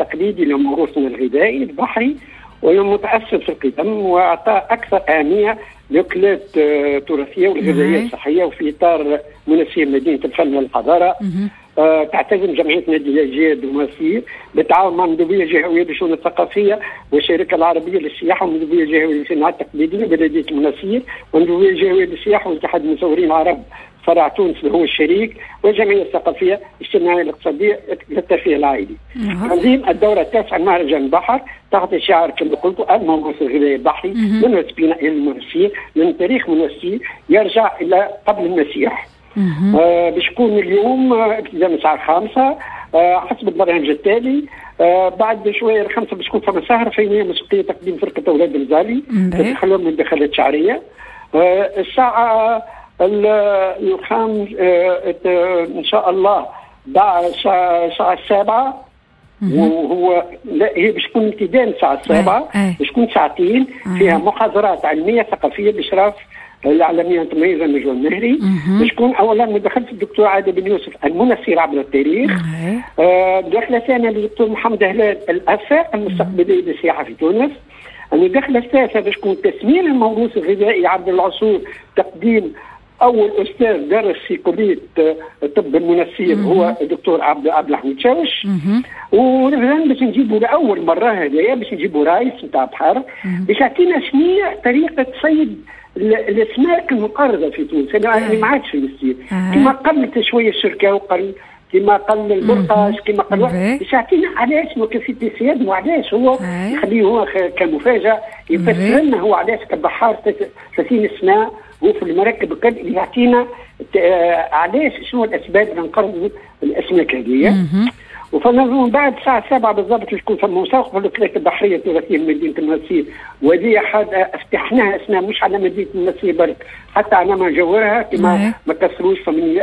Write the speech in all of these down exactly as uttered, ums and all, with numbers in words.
التقليدي لموروثنا الغذائي البحري والمتأثر في القدم، واعطى اكثر اهمية للاكلات التراثية والغذائيه الصحيه. وفي اطار منسير مدينة الفن والحضارة آه تعتزم جمعية نادي الاجياد المنسير بالتعاون مع المندوبيه الجهوية للشؤون الثقافية والشركة العربية للسياحة والمندوبيه الجهوية للصناعات التقليدية بلديه المنسير والمندوبيه الجهوية للسياحة واتحاد المصورين العرب فرع تونس اللي هو الشريك والجمعية الثقافية الاجتماعية الاقتصادية للترفيه العائلي. تنظيم الدورة التاسعة مهرجان البحر تحت شعار كما قلت الموروث الغذائي البحري من وسبينا الى المنسير، من تاريخ منسير يرجع الى قبل المسيح. آه باش يكون اليوم ابتداء من الساعة الخامسة آه حسب البرنامج التالي. آه بعد شوية الخمسة باش تكون فما سهره فنية موسيقية تقديم فرقه اولاد المزالي تدخلهم من دخلات شعرية. آه الساعة الخامس آه ان شاء الله بعد الساعة السابعة، وهو لا هي باش تكون امتداد الساعة السابعة، باش تكون ساعتين فيها محاضرات علمية ثقافية باشراف الاعلامية المتميزة نجوى النهري. باش تكون اولا مداخله الدكتور عادل بن يوسف المنسير عبر التاريخ، آه مداخله ثانية للدكتور محمد هلال الافاق المستقبلية للسياحة في تونس. المداخلة الثالثة باش تكون تسمين الموروث الغذائي عبر العصور، تقديم اول استاذ درس في كليه الطب المنسير هو الدكتور عبد عبد الحميد شاوش. ومثلا باش نجيبوا لاول مرة هذايا باش نجيبوا رايس نتاع بحر باش يعطينا شنو طريقه صيد الاسماك المقرضه في تونس اللي ما عادش في المسير، كما قلت شوية الشركة وقل كما قل البرقاش كما قل، باش يعطينا علاش كيفية الصياد وعلاش هو يخليه هو كمفاجاه يفسر لنا هو علاش كبحار ثلاثين سنة هو في المراكب الكل، يعطينا علاش شنو الاسباب اللي نقرضوا الاسماك هذه. وفما من بعد الساعة السابعة بالضبط تكون فما مسابقة في الأكلات البحرية التراثية لمدينة المنسير، وهذه فتحناها اسمها مش على مدينة المنسير برك، حتى على ما جاورها كما ما كسروش، فمن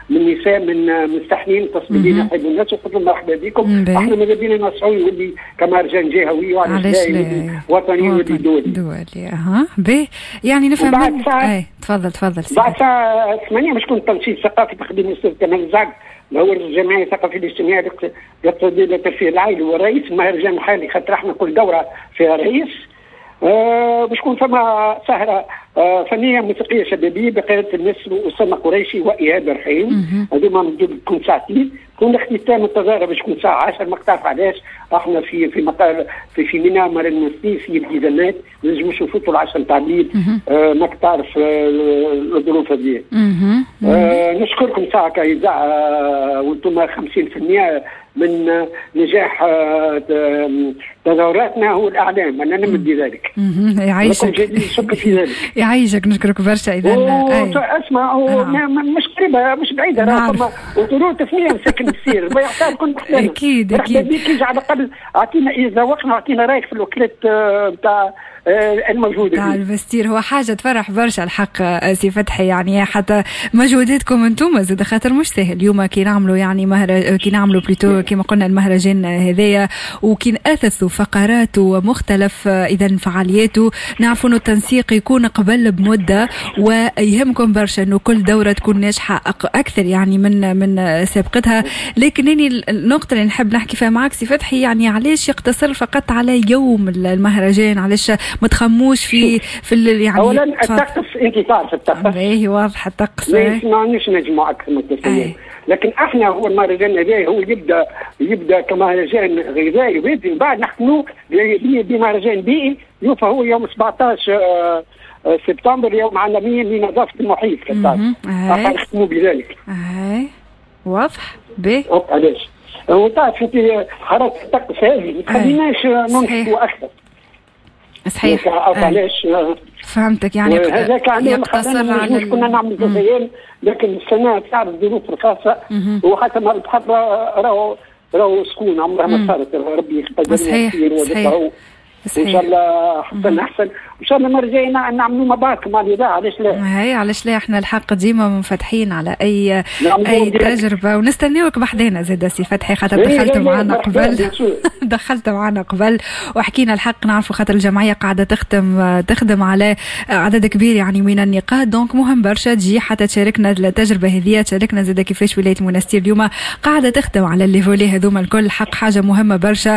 من نساء من مستحنين تصميمين يحبوا الناس وقلت لهم مرحبا بكم، احنا ماذا بينا نوسعوا يولي كمهرجان جهوي وعلاش لا وطني يولي دولي. دولي اها باهي، يعني نفهم بعد ساعة. اي تفضل تفضل. بعد الساعة ثمانية باش يكون تنشيط ثقافي تقديم الأستاذ كمال الزعق اللي هو الجمعية الثقافية الاجتماعية الاقتصادية للترفيه العائلي ورئيس المهرجان الحالي، خاطر احنا كل دوره فيها رئيس. آه باش تكون فما سهره آه فنية موسيقية شبابية بقيادة النسر اسامة قريشي وايهاب رحيم، هذوما تكون ساعتين. تكون اختتام التظاهرة باش تكون الساعة عشرة، ما تعرف علاش احنا في في مطار في في ميناء مار المنستير في التزامات ما نجموش نفوتوا العشرة نتاع الليل، آه ماك تعرف آه الظروف هذه. آه نشكركم ساعة كاذاعه آه وانتم خمسين بالمئة من نجاح تظاهراتنا هو الاعلام، انا نمد بذلك. يعيشك، شكرا في ذلك. يعيشك، نشكرك برشا. اذا اسمع مش قريبه مش بعيدة، راه فما وطرق ثنيه مساكن السير ما يعطيها كل اكيد اكيد. بك على الاقل اعطينا اذا وقنا اعطينا رايك في الاكلات نتاع الموجودة تاع المستير. هو حاجة تفرح برشا الحق سي فتحي، يعني حتى مجهوداتكم انتم زاد خاطر مش سهل اليوم كي نعملوا يعني مهر كي نعملوا plutôt كما قلنا المهرجان هذايا وكي نأثثوا فقراته ومختلف اذا فعالياته، نعرفوا انه التنسيق يكون قبل بمدة، ويهمكم برشا انه كل دوره تكون ناجحة اكثر يعني من من سابقتها. لكن النقطة اللي نحب نحكي فيها معك سي فتحي، يعني علاش يقتصر فقط على يوم المهرجان؟ علاش ما تخموش في في يعني اولا الطقس، انت تعرف الطقس اي واضح الطقس ما عندناش نجمع اكثر من ثلاث، لكن احنا هو المهرجان هذا هو يبدا يبدا كمهرجان غذائي ومن بعد نختموه بمهرجان بيئي يوفى هو يوم سبعطاش سبتمبر يوم عالمي لنظافه المحيط، احنا نختموا بذلك. اي واضح باهي. علاش؟ وتعرف انت حرارة الطقس هذه ما تخليناش ننشطوا اكثر. صحيح. علاش؟ فهمتك، يعني هذاك يقتصر على كنا نعمل ثلاث ايام، لكن السنة تعرف الظروف الخاصة وحتى مع البحر راهو راهو سكون عمرها ما صارت، ربي يقدر. صحيح صحيح. ان شاء الله حسن احسن، ان شاء الله المرة الجاية نعملوا مع بعض مع الاذاعه، علاش لا؟ هاي علاش لا، احنا الحق ديما منفتحين على اي اي تجربه، ونستناوك بحذانا زاد سي فتحي، خاطر إيه، دخلت معنا قبل، دخلت معنا قبل وحكينا. الحق نعرفوا خاطر الجمعية قاعدة تخدم تخدم على عدد كبير يعني من النقاط، donc مهم برشا تجي حتى تشاركنا التجربة هذه، تشاركنا زاد كيفاش ولاية المنستير اليوم قاعدة تخدم على les volets هذوما الكل. حق حاجة مهمة برشا.